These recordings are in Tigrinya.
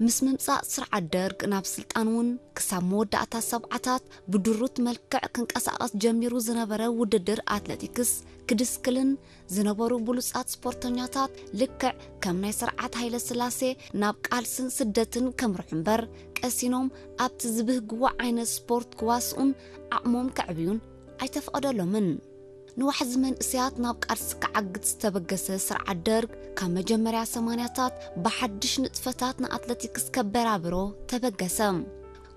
ምስ ምምጻእ ስርዓት ደርግ ናብ ስልጣን እውን ክሳብ መወዳእታ ሰብዓታት ብድሩት መልክዕ ክንቀሳቐስ ጀሚሩ ዝነበረ ውድድር ኣትሌቲክስ ክድስክልን ዝነበሩ ብሉጻት ስፖርተኛታት ልክዕ ከም ናይ ስርዓት ሃይለ ስላሴ ናብ ቃልስን ስደትን ከምርሑ እምበር ቀሲኖም ኣብቲ ዝብህግዎ ዓይነት ስፖርት ክዋስኡን ዓቕሞም ከዕብዩን ኣይተፈቐደሎምን። ንዋሕዚ መንእሰያት ናብ ቃልሲ ክዓግት ዝተበገሰ ስርዓት ደርግ ካብ መጀመርያ ሰማንያታት ብሓድሽ ንጥፈታት ንኣትለቲክስ ከበራብሮ ተበገሰ።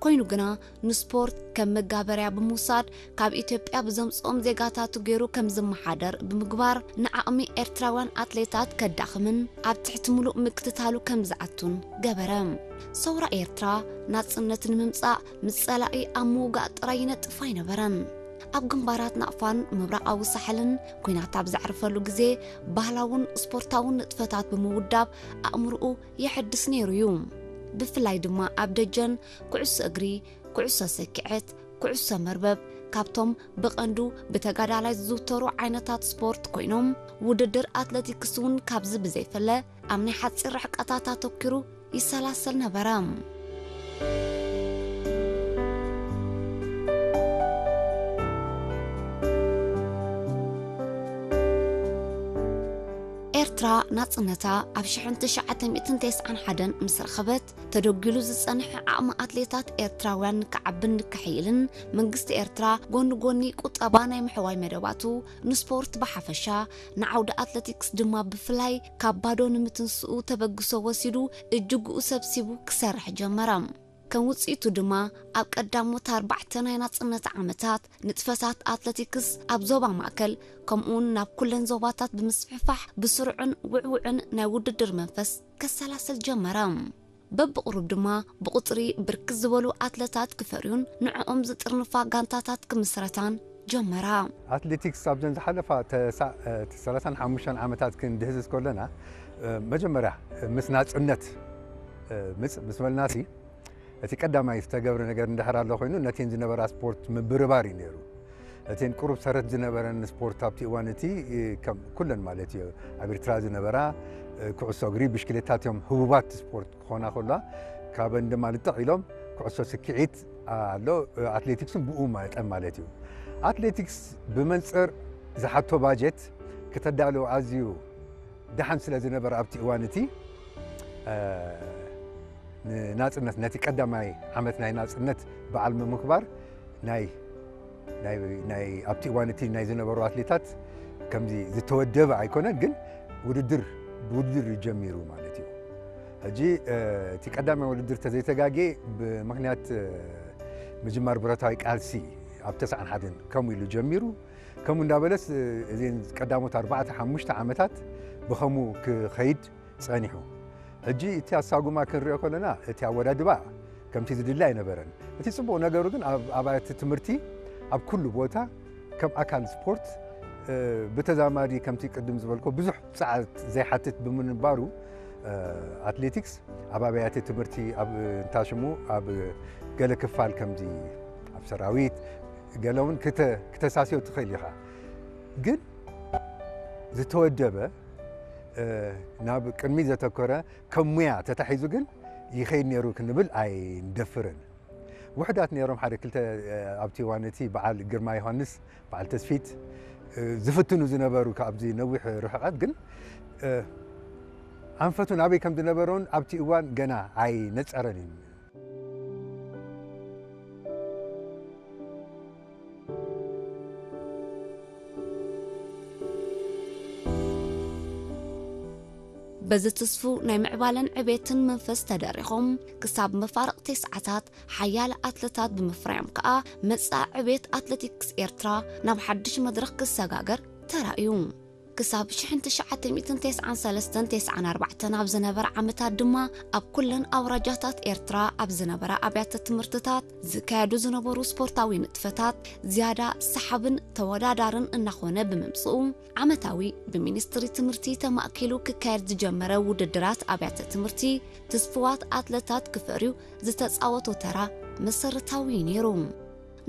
ኮይኑ ግና ንስፖርት ከም መጋበርያ ብምውሳድ ካብ ኢትዮጵያ ብዘምጽኦም ዜጋታቱ ገይሩ ከም ዝመሓደር ብምግባር ንዓቕሚ ኤርትራውያን ኣትሌታት ከዳኽምን ኣብ ትሕቲ ምሉእ ምክትታሉ ከም ዝኣቱን ገበረ። ሰውራ ኤርትራ ናጽነት ንምምጻእ ምስ ጸላኢ ኣብ ምውጋእ ጥራይ ይነጥፍ ኣይነበረን። ኣብ ግንባራት ናቕፋን ምብራቓዊ ሳሕልን ኲናት ኣብ ዘዕርፈሉ ግዜ ባህላውን ስፖርታውን ንጥፈታት ብምውዳብ ኣእምርኡ የሐድስ ነይሩ እዩ። ብፍላይ ድማ ኣብ ደጀን ኩዕሶ እግሪ፣ ኩዕሶ ሰኪዐት፣ ኩዕሶ መርበብ ካብቶም ብቐንዱ ብተጋዳላይ ዝዝውተሩ ዓይነታት ስፖርት ኮይኖም ውድድር ኣትለቲክስ እውን ካብዚ ብዘይፈለ ኣብ ናይ ሓፂር ርሕቀታት ኣተኪሩ ይሰላሰል ነበረ። ኤርትራ ናጽነታ ኣብ ሽሕን ትሽዓተ ሚእትን ተስዓን ሓደን ምስ ረኸበት ተደጒሉ ዝጸንሐ ዓቕሚ ኣትሌታት ኤርትራውያን ንክዓብን ንክሕይልን መንግስቲ ኤርትራ ጎኒ ጎኒ ቁጠባ ናይ ምሕዋይ መደባቱ ንስፖርት ብሓፈሻ ንዓውዲ ኣትለቲክስ ድማ ብፍላይ ካብ ባዶ ንምትንስኡ ተበግሶ ወሲዱ እጅግኡ ሰብሲቡ ክሰርሕ ጀመረ። ከም ውጽኢቱ ድማ ኣብ ቀዳሞት ኣርባዕተ ናይ ናጽነት ዓመታት ንጥፈታት ኣትለቲክስ ኣብ ዞባ ማእከል ከምኡውን ናብ ኩለን ዞባታት ብምስፍሕፋሕ ብስሩዕን ውዕውዕን ናይ ውድድር መንፈስ ከሰላስል ጀመረ። በብቕሩብ ድማ ብቑጽሪ ብርክት ዝበሉ ኣትለታት ክፈርዩን ንዕኦም ዝጥርንፋ ጋንታታት ክምስረታን ጀመራ። ኣትሌቲክስ ኣብዘን ዝሓለፋ ተሳ- እ፣ ሰላሳን ሓሙሽተን ዓመታት ክንድህስስ ከለና እ፣ መጀመርያ ምስ ናጽነት እ፣ ምጽ ምስ በልናሲ እቲ ቀዳማይ ዝተገብረ ነገር እንድሕር ኣሎ ኮይኑ ነቲን ዝነበራ ስፖርት ምብርባር እዩ ነይሩ። እቲን ቁሩብ ሰረት ዝነበረን ስፖርት ኣብቲ እዋን እቲ እ፣ ከም ኩለን ማለት እዩ ኣብ ኤርትራ ዝነበራ እ፣ ኩዕሶ እግሪ፣ ብሽክሌታ እቲኦም ህቡባት ስፖርት ክኾና ከሎ ካብን ድማ ልጥቕ ኢሎም ኩዕሶ ስክዒት ኣሎ እ፣ ኣትሌቲክስን ብኡ መጠን ማለት እዩ። ኣትሌቲክስ ብመንጽር ዝሓቶ ባጀት ክተዳለዎ ኣዝዩ ደሓን ስለ ዝነበረ ኣብቲ እዋን እቲ እ፣ ንናጽነት ነቲ ቀዳማይ ዓመት ናይ ናጽነት በዓል ምምክባር ናይ ናይ ናይ ኣብቲ እዋን እቲ ናይ ዝነበሩ ኣትሌታት ከምዚ ዝተወደበ ኣይኮነን፣ ግን ውድድር ብውድድር እዩ ጀሚሩ ማለት እዩ። ሕጂ እ፣ እቲ ቀዳማይ ውድድር ተዘይተጋጌ ብምኽንያት እ፣ ምጅማር ብረታዊ ቃልሲ ኣብ ተስዓን ሓደን ከምኡ ኢሉ ጀሚሩ። ከምኡ እንዳበለስ እ፣ እዘን ቀዳሞት ኣርባዕተ ሓሙሽተ ዓመታት ብኸምኡ ክኸይድ ጸኒሑ። ሕጂ እቲ ኣሳጉማ ክንሪኦ ከለና እቲ ኣወዳድባ ከምቲ ዝድለ ኣይነበረን። እቲ ጽቡቕ ነገሩ ግን ኣብ ኣብያተ ትምህርቲ ኣብ ኩሉ ቦታ ከም ኣካል ስፖርት እ፣ ብተዛማዲ ከምቲ ቅድም ዝበልኮ ብዙሕ ጸዓት ዘይሓትት ብምንባሩ እ፣ ኣትሌቲክስ ኣብ ኣብያተ ትምህርቲ ኣብ እንታሽሙ ኣብ ገለ ክፋል ከምዚ ኣብ ሰራዊት ገለ እውን ክተ- ክተሳስዮ ትኽእል ኢኻ። ግን ዝተወደበ እ፣ ናብ ቅድሚ ዘተኮረ ከም ሙያ ተታሒዙ ግን ይኸይድ ነይሩ ክንብል ኣይንደፍርን። ውሕዳት ነይሮም ሓደ ክልተ እ፣ ኣብቲ እዋን እቲ በዓል ግርማ ዮሃንስ፣ በዓል ተስፊት እ፣ ዝፍትኑ ዝነበሩ ካብዚ ነዊሕ ርሕቐት ግን እ፣ ኣንፈቱ ናበይ ከም ዝነበረውን ኣብቲ እዋን ገና ኣይነጸረን እዩ። በዚ ትስፉ ናይ ምዕባለን ዕቤትን መንፈስ ተደሪኾም ክሳብ መፋርቕ ተስዓታት ሓያለ ኣትለታት ብምፍራዮም ከኣ መጻኢ ዕቤት ኣትለቲክስ ኤርትራ ናብ ሓድሽ መድረኽ ክሰጋገር ተራእዩ። ክሳብ ሽሕን ትሽዓተ ሚእትን ተስዓን ሰለስተን ተስዓን ኣርባዕተን ኣብ ዝነበረ ዓመታት ድማ ኣብ ኩለን ኣውራጃታት ኤርትራ ኣብ ዝነበራ ኣብያተ ትምህርትታት ዝካየዱ ዝነበሩ ስፖርታዊ ንጥፈታት ዝያዳ ሰሓብን ተወዳዳርን እናኾነ ብምምጽኡ ዓመታዊ ብሚኒስትሪ ትምህርቲ ተማእኪሉ ክካየድ ዝጀመረ ውድድራት ኣብያተ ትምህርቲ ትስፍዋት ኣትለታት ክፈርዩ ዝተጻወቶ ተራ መሰረታዊ እዩ ነይሩ።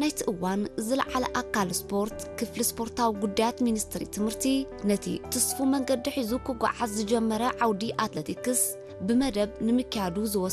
ናይቲ እዋን ዝለዓለ ኣካል ስፖርት ክፍሊ ስፖርታዊ ጉዳያት ሚኒስትሪ ትምህርቲ ነቲ ትስፉ መንገዲ ሒዙ ክጓዓዝ ዝጀመረ ዓውዲ ኣትለቲክስ ብመደብ ንምክያዱ ዝወሰዶ